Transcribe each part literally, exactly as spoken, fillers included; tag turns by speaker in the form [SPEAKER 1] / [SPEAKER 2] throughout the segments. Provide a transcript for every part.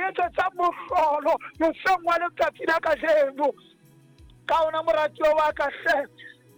[SPEAKER 1] etsetsang mohlolo moseng wa letsatsi la kajeno. Ka ona moratuwa wa ka hle,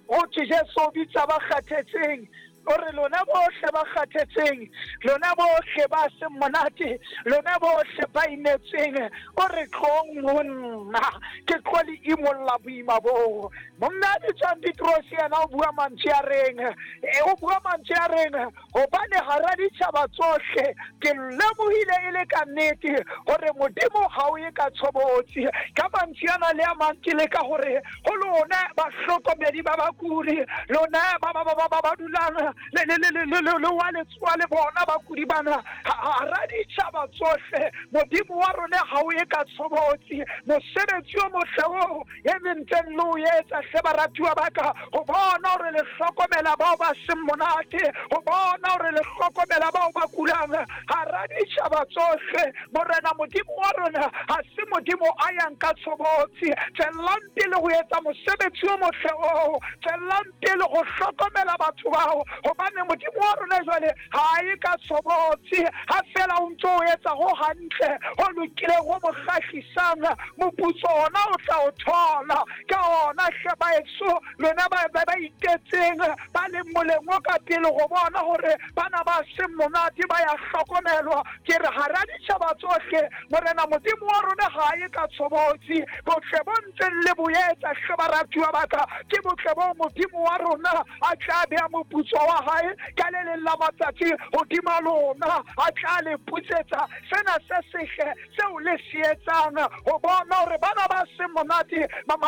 [SPEAKER 1] ho thwe Jesu o bitsa ba kgathetseng, o re lona bohle ba kgathetseng, lona bohle ba seng monate, lona bohle ba imetsweng, o re tlong ho nna, ke tlo le imolla boima boo. Monna a bitswang Petrose yena o bua mantswe a reng, e o bua mantswe a reng, hobane hara ditjhaba tsohle ke lemohile e le ka nnete hore Modimo ha o ye ka tshobotsi. Ka mantswe ana le a mang ke leka hore ho lona bahlokomedi ba bakudi, lona ba ba ba ba ba ba dulang le le le le le le le wa letsoa le bona bakudi bana, hara ditjhaba tsohle Modimo wa rona ha o ye ka tshobotsi. Mosebetsi o motle oo e le ntseng le o etsa hle baratuwa ba ka, ho bona hore le hlokomela bao ba seng monate, ho bona hore le hlokomela bao ba kulang hara ditjhaba tsohle. Morena Modimo wa rona ha se Modimo a yang ka tshobotsi. Tswellang pele ho etsa mosebetsi o motle oo, tswellang pele ho hlokomela batho bao, hobane Modimo wa rona jwale ha e ka tshobotsi. Ha fela o ntso o etsa ho hantle, ho lokileng, ho mo kgahlisang, moputso ona o tla o thola. Ka ona hle baetsho, lona ba ba ba itetseng, ba leng moleng o ka pele ho bona hore bana ba seng monate ba ya hlokomelwa, ke re hara ditjhaba tsohle Morena Modimo wa rona ha e ka tshobotsi. Botle bo ntseng le bo etsa hle baratuwa ba ka, ke botle bo Modimo wa rona a tla beha moputso wa hae ka le leng la matsatsi hodima lona, a tla le putsetsa sena se sehle seo le se etsang, ho bona hore bana ba seng monate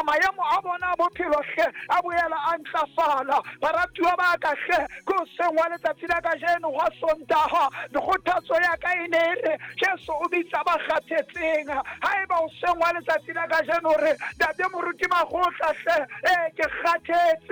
[SPEAKER 1] maemo a bona a bophelo hle a boela a ntlafala. Baratuwa ba ka hle, ke hoseng wa letsatsi la kajeno hwa Sontaha, kgothatso ya ka e ne e re Jesu o bitsa ba kgathetseng. Haeba hoseng wa letsatsi la kajeno re ntate moruti Makgotla hle, ee ke kgathetse,